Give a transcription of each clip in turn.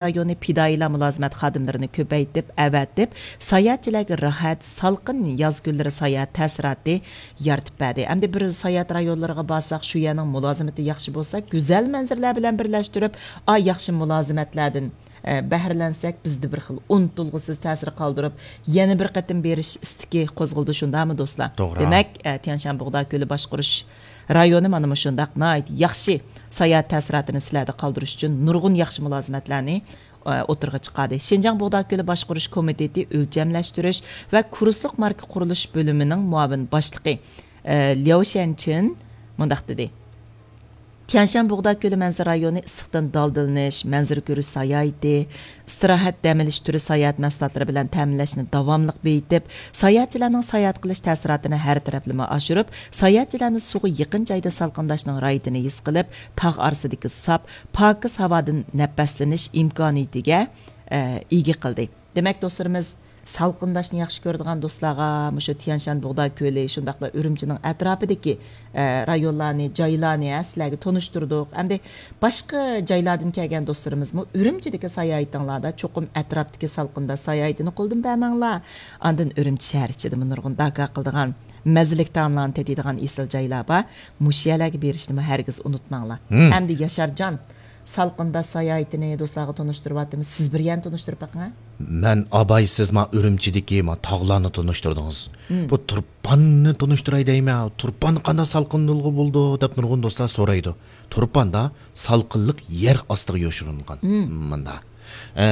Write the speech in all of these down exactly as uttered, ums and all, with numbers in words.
رايونى پىدائىيلار مۇلازىمەت خادىملىرىنى كۆپەيتىپ، ئەۋەتىپ، ساياھەتچىلەرگە راھەت، سالقىن ياز كۈنلىرى ساياھەت تەسىراتى يارىتىپ بەردى. ئەمدى بىر ساياھەت رايونلىرىغا بارساق، شۇ يەرنىڭ مۇلازىمىتى ياخشى بولسا، گۈزەل مەنزىرىلەر بىلەن بىرلەشتۈرۈپ، ئا، ياخشى مۇلازىمەتلەردىن، ئە، بەھرىلەنسەك، بىزدە بىر خىل ئۇنتۇلغۇسىز تەسىر قالدۇرۇپ، يەنە بىر قېتىم بېرىش ئىستىكى قوزغىلىدۇ، شۇنداقمۇ، دوستلار؟ توغرا. دېمەك، ئە، تيەنشان بۇغدا كۆلى باشقۇرۇش رايونى مانا مۇشۇنداق ناھايىتى ياخشى ساياھەت تەسىراتىنى سىلەردە قالدۇرۇش ئۈچۈن نۇرغۇن ياخشى مۇلازىمەتلەرنى، ئە، ئوتتۇرىغا چىقاردى. شىنجاڭ بۇغدا كۆلى باشقۇرۇش كومىتېتى ئۆلچەملەشتۈرۈش ۋە كۇرسلۇق ماركا قۇرۇلۇش بۆلۈمىنىڭ مۇئاۋىن باشلىقى، ئە، لياۋ شيەنچىن مۇنداق دېدى: تيەنشان بۇغدا كۆلى مەنزىرە رايونى ئىسسىقتىن دالدىلىنىش، مەنزىرە كۆرۈش ساياھىتى، ئىستىراھەت، دەم ئېلىش تۈرى ساياھەت مەھسۇلاتلىرى بىلەن تەمىنلەشنى داۋاملىق بېيىتىپ، ساياھەتچىلەرنىڭ ساياھەت قىلىش تەسىراتىنى ھەر تەرەپلىمە ئاشۇرۇپ، ساياھەتچىلەرنى سۇغا يېقىن جايدا سالقىنداشنىڭ راھىتىنى ھېس قىلىپ، تاغ ئارىسىدىكى ساپ، پاكىز ھاۋادىن نەپەسلىنىش ئىمكانىيىتىگە، ئە، ئىگە قىلدى. دېمەك، دوستلىرىمىز، سالقىنداشنى ياخشى كۆرىدىغان دوستلارغا مۇشۇ تيەنشان بۇغدا كۆلى، شۇنداقلا ئۈرۈمچىنىڭ ئەتراپىدىكى، ئە، رايونلارنى، جايلارنى، ھە، سىلەرگە تونۇشتۇردۇق. ئەمدى باشقا جايلاردىن كەلگەن دوستلىرىمىزمۇ ئۈرۈمچىدىكى ساياھىتىڭلاردا چوقۇم ئەتراپتىكى سالقىندا ساياھىتىنى قولدىن بەرمەڭلار. ئاندىن ئۈرۈمچى شەھەر ئىچىدىمۇ نۇرغۇن داكا قىلىدىغان، مەززىلىك تائاملارنى تېتىيدىغان ئېسىل جايلار بار. مۇشۇ يەرلەرگە بېرىشنىمۇ ھەرگىز ئۇنتۇماڭلار. ھىم. ئەمدى ياشارجان، سالقىنداش ساياھىتىنى دوستلارغا تونۇشتۇرۇۋاتىمىز. سىز بىر يەرنى تونۇشتۇرۇپ بېقىڭ، ھە؟ مەن ئابايسىز ما ئۈرۈمچىدىكى ما تاغلارنى تونۇشتۇردىڭىز. ھىم. بۇ تۇرپاننى تونۇشتۇراي دەيمەن. تۇرپاننى قانداق سالقىندىلغا بولىدۇ دەپ نۇرغۇن دوستلار سورايدۇ. تۇرپاندا سالقىنلىق يەر ئاستىغا يوشۇرۇنغان. مم. مۇندا. ئە،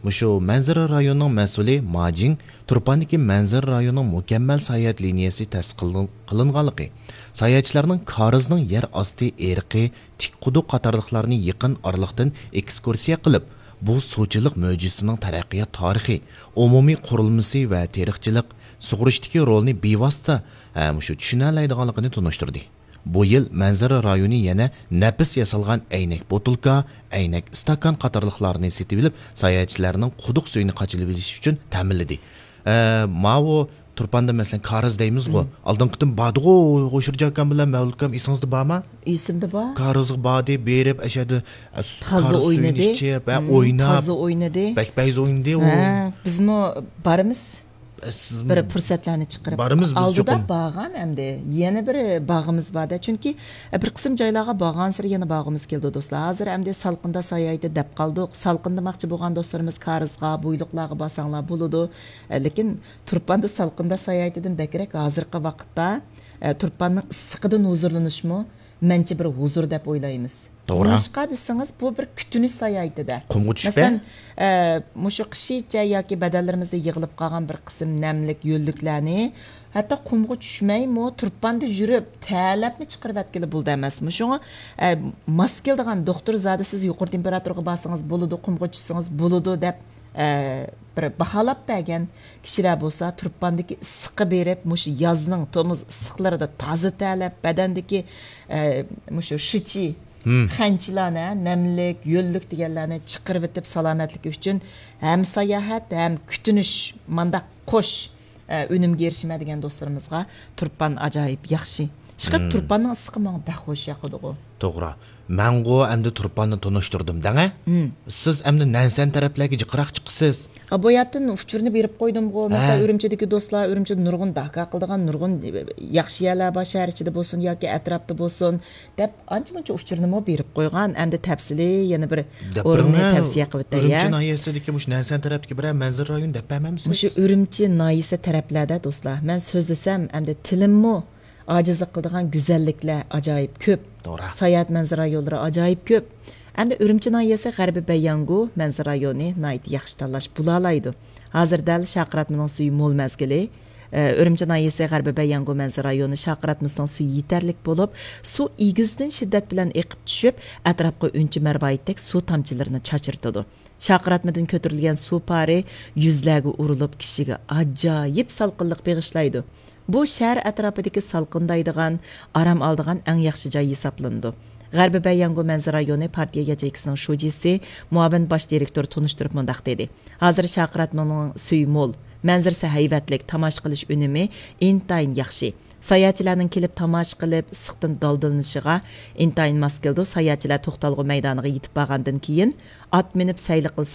مۇشۇ مەنزىرە رايونىنىڭ مەسئۇلى ماجىڭ تۇرپاندىكى مەنزىرە رايونىنىڭ مۇكەممەل ساياھەت لىنىيەسى تەسىس قىلىن-، قىلىنغانلىقى، ساياھەتچىلەرنىڭ كارىزنىڭ يەر ئاستى ئېرىقى، تىك قۇدۇق قاتارلىقلارنى يېقىن ئارىلىقتىن ئېكسكۇرسىيە قىلىپ، بۇ سۇچىلىق مۆجىزىسىنىڭ تەرەققىيات تارىخى، ئومۇمىي قۇرۇلمىسى ۋە تېرىقچىلىق، سۇغۇرۇشتىكى رولىنى بىۋاسىتە، ھە، مۇشۇ چۈشىنەلەيدىغانلىقىنى تونۇشتۇردى. بۇ يىل مەنزىرە رايونى يەنە نەپىس ياسالغان ئەينەك بوتۇلكا، ئەينەك ئىستاكان قاتارلىقلارنى سېتىۋېلىپ، ساياھەتچىلەرنىڭ قۇدۇق سۈيىنى قاچىلىۋېلىش ئۈچۈن تەمىنلىدى. ئە، ماۋۇ تۇرپاندا، مەسىلەن، كارىز دەيمىزغۇ. مم. ئالدىنقى قېتىم باردىغۇ، غوشۇرجا ئاكام بىلەن مەۋلۇت ئاكام، ئېسىڭىزدە بارمۇ؟ ئېسىمدە بار. كارىزغا باردى، بېرىپ، ئەشەدە، ئە، تازا كارىز سۈيىنى ئوينىدى. ئىچىپ، ھە، مم، ئويناپ، تازا ئوينىدى. بەك پەيز ئوينىدى ئۇ. ھە، بىزمۇ بارىمىز. ئە، سىز بىر پۇرسەتلەرنى چىقىرىپ. بارىمىز بىز ئالدىدا چوقۇم. بارغان ئەمدى. يەنە بىر باغىمىز بار-دە. چۈنكى، ئە، بىر قىسىم جايلارغا بارغانسېرى يەنە بارغۇمىز كېلىدۇ، دوستلار. ھازىر ئەمدى سالقىندا ساياھىتى دەپ قالدۇق. سالقىندىماقچى بولغان دوستلىرىمىز كارىزغا، بويلۇقلارغا بارساڭلار بولىدۇ. ئە، لېكىن تۇرپاندا سالقىندا ساياھىتىدىن بەكرەك ھازىرقى ۋاقىتتا، ئە، تۇرپاننىڭ ئىسسىقىدىن ھۇزۇرلىنىشمۇ مەنچە بىر ھۇزۇر دەپ ئويلايمىز. توغرا. نېمىشقا دېسىڭىز، بۇ بىر كۈتۈنۈش ساياھىتىدە. قۇمغا چۈشۈپ. مەسىلەن، ئە، مۇشۇ قىشىچە ياكى بەدەنلىرىمىزدە يىغىلىپ قالغان بىر قىسىم نەملىك، يۆللۈكلەرنى ھەتتا قۇمغا چۈشمەيمۇ، تۇرپاندا يۈرۈپ، تەرلەپمۇ چىقىرىۋەتكىلى بولىدۇ ئەمەسمۇ؟ شۇڭا، ئە، ماس كېلىدىغان دوختۇر زادى سىز يۇقىرى تېمپېراتۇرىغا بارسىڭىز بولىدۇ، قۇمغا چۈشسىڭىز بولىدۇ دەپ، ئە، بىر باھالاپ بەرگەن كىشىلەر بولسا، تۇرپاندىكى ئىسسىققا بېرىپ، مۇشۇ يازنىڭ تومۇز ئىسسىقلىرىدا تازا تەرلەپ، بەدەندىكى، ئە، مۇشۇ شىچى، خەنچىلەرنى، نەملىك، يۆللۈك دېگەنلەرنى چىقىرىۋېتىپ، سالامەتلىكى ئۈچۈن ھەم ساياھەت، ھەم كۈتۈنۈش، مانداق قوش، ئە، ئۈنۈمگە ئېرىشىمەن دېگەن دوستلىرىمىزغا تۇرپان ئاجايىپ ياخشى. شۇڭا تۇرپاننىڭ ئىسسىقى ماڭا بەك خوش ياقىدىغۇ. توغرا. مەنغۇ ئەمدى تۇرپاننى تونۇشتۇردۇم دەڭە. سىز ئەمدى نەنسەن تەرەپلەرگە جىقراق چىقىسىز. ئا، بۇ يەردىن ئۇچۇرنى بېرىپ قويدۇمغۇ. مەسىلەن، ھە. ئۈرۈمچىدىكى دوستلار، ئۈرۈمچىدە نۇرغۇن داكا قىلىدىغان نۇرغۇن ياخشى يەرلەر بار، شەھەر ئىچىدە بولسۇن ياكى ئەتراپتا بولسۇن، دەپ ئانچە-مۇنچە ئۇچۇرنىمۇ بېرىپ قويغان. ئەمدى تەپسىلىي يەنە بىر دەپ ئورۇننى بېرىڭە، تەۋسىيە قىلىۋېتەي، ئۈرۈمچى يا. ناھىيەسىدىكى مۇشۇ نەنسەن تەرەپتىكى بىرەر مەنزىرە رايونى دەپ بەرمەمسىز؟ مۇشۇ ئۈرۈمچى ناھىيەسى تەرەپلەردە، دوستلار، مەن سۆزلىسەم، ئەمدى تىلىممۇ ئاجىزلىق قىلىدىغان گۈزەللىكلەر ئاجايىپ كۆپ. توغرا. ساياھەت مەنزىرە رايونلىرى ئاجايىپ كۆپ. ئەمدى ئۈرۈمچى ناھىيەسى غەربىي بەيياڭگۇ مەنزىرە رايونى ناھايىتى ياخشى تاللاش بولالايدۇ. ھازىر دەل شارقىراتمىنىڭ سۈيى مول مەزگىلى. ئە، ئۈرۈمچى ناھىيەسى غەربىي بەيياڭگۇ مەنزىرە رايونى شارقىراتمىسىنىڭ سۈيى يېتەرلىك بولۇپ، سۇ ئېگىزدىن شىددەت بىلەن ئېقىپ چۈشۈپ، ئەتراپقا ئۈنچە مەرۋايىتتەك سۇ تامچىلىرىنى چاچرىتىدۇ. شارقىراتمىدىن كۆتۈرۈلگەن سۇ پارى يۈزلەرگە ئۇرۇلۇپ، كىشىگە ئاجايىپ سالقىنلىق بېغىشلايدۇ. بۇ شەھەر ئەتراپىدىكى سالقىندايدىغان، ئارام ئالىدىغان ئەڭ ياخشى جاي ھېسابلىنىدۇ. غەربىي بەيياڭگۇ مەنزىرە رايونى پارتىيە ياچېيكىسىنىڭ شۇجىسى، مۇئاۋىن باش دىرېكتورى تونۇشتۇرۇپ مۇنداق دېدى: ھازىر شارقىراتمىنىڭ سۈيى مول، مەنزىرىسى ھەيۋەتلىك، تاماشا قىلىش ئۈنۈمى ئىنتايىن ياخشى. ساياھەتچىلەرنىڭ كېلىپ تاماشا قىلىپ، ئىسسىقتىن دالدىلىنىشىغا ئىنتايىن ماس كېلىدۇ. ساياھەتچىلەر توختالغۇ مەيدانىغا يېتىپ بارغاندىن كېيىن، ئات مىنىپ سەيلە قىلسا،